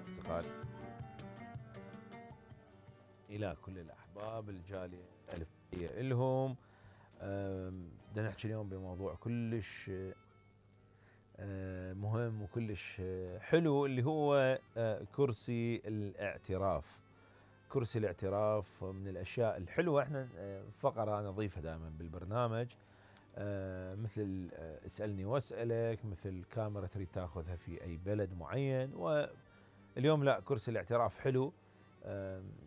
أصدقائي إلى كل الأحباب الجالية الألفية إلهم. بدنا نحكي اليوم بموضوع كلش مهم وكلش حلو، اللي هو كرسي الاعتراف. كرسي الاعتراف من الأشياء الحلوة. احنا فقرة نضيفها دائما بالبرنامج، مثل اسألني واسألك، مثل كاميرا تريد تاخذها في أي بلد معين. واليوم لا، كرسي الاعتراف حلو.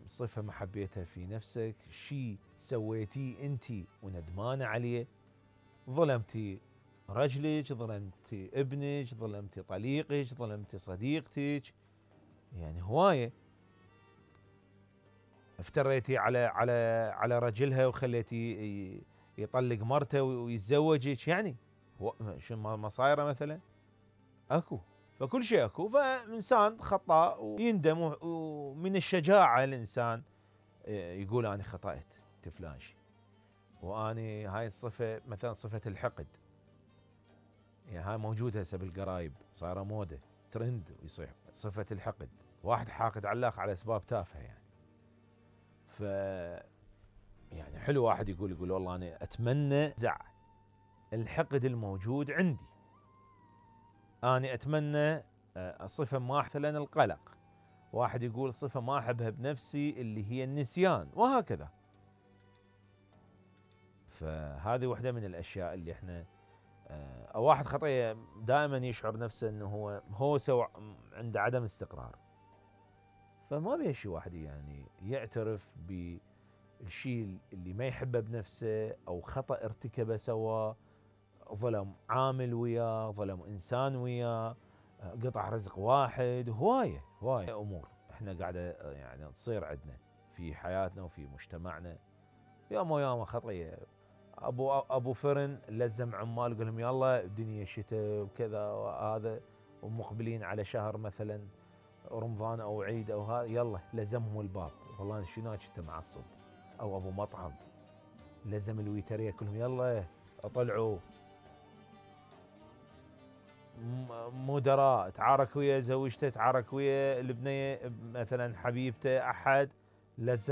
صفة ما حبيتها في نفسك، شيء سويتيه انت وندمانة عليه، ظلمتي رجلك، ظلمتي ابنك، ظلمتي طليقك، ظلمتي صديقتك، يعني هواية. افتريتي على رجلها وخليتي يطلق مرته ويتزوجك، يعني شو ما صايره مثلا؟ اكو، فكل شيء اكو. فانسان خطاء ويندم، ومن الشجاعه الانسان يقول انا خطأت فلان شيء. واني هاي الصفه مثلا صفه الحقد، يعني هاي موجوده هسه بالقرايب، صايره موده ترند ويصيح صفه الحقد. واحد حاقد على الاخ على اسباب تافهه يعني. ف يعني حلو واحد يقول والله انا اتمنى زع الحقد الموجود عندي. انا اتمنى صفه ما مثلا القلق. واحد يقول صفه ما احبها بنفسي اللي هي النسيان، وهكذا. فهذه واحده من الاشياء اللي احنا او واحد خطيه دائما يشعر نفسه انه هو سوى عنده عدم استقرار. فما بيه شيء واحد يعني يعترف بالشيء اللي ما يحبه بنفسه، او خطأ ارتكبه سواه، ظلم عامل وياه، ظلم انسان وياه، قطع رزق واحد. هوايه امور احنا قاعده يعني تصير عندنا في حياتنا وفي مجتمعنا. ياما خطيه. ابو فرن لزم عمال يقول لهم يلا الدنيا شتاء وكذا وهذا، ومقبلين على شهر مثلا رمضان او عيد او هذا، يلا لزمهم الباب. والله شنو كنت معصب. او ابو مطعم لزم الويتريه كلهم يلا اطلعوا. مدراء تعارك ويا زوجته، تعارك ويا البنيه مثلا حبيبته، احد لزم